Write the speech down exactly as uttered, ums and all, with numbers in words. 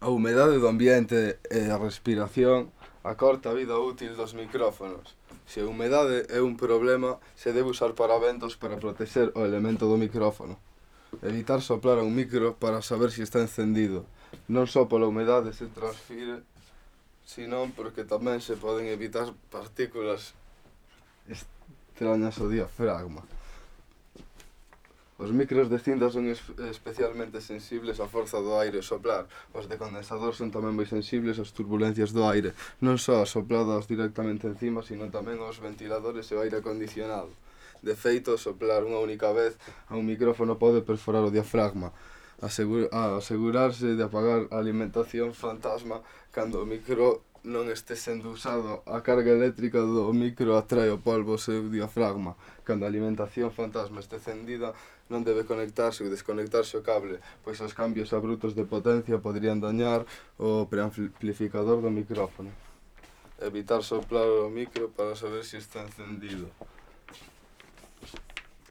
A humedade do ambiente e a respiración acorta a vida útil dos micrófonos. Se a humedade é un problema, se debe usar paraventos para protexer o elemento do micrófono. Evitar soplar a un micro para saber se está encendido. Non só pola humedade se transfire, senón porque tamén se poden evitar partículas extrañas ao diafragma. Os micros de cinta son especialmente sensibles á forza do aire soplar. Os de condensador son tamén moi sensibles ás turbulencias do aire, non só as sopladas directamente encima, sino tamén aos ventiladores e ao aire acondicionado. De feito, soplar unha única vez a un micrófono pode perforar o diafragma. Asegur a asegurarse de apagar a alimentación fantasma cando o micro non este sendo usado. A carga eléctrica do micro atrae o polvo ao seu diafragma. Cando a alimentación fantasma este encendida, non debe conectarse ou desconectarse o cable, pois os cambios abruptos de potencia poderían dañar o preamplificador do micrófono. Evitar soplar o micro para saber se está encendido.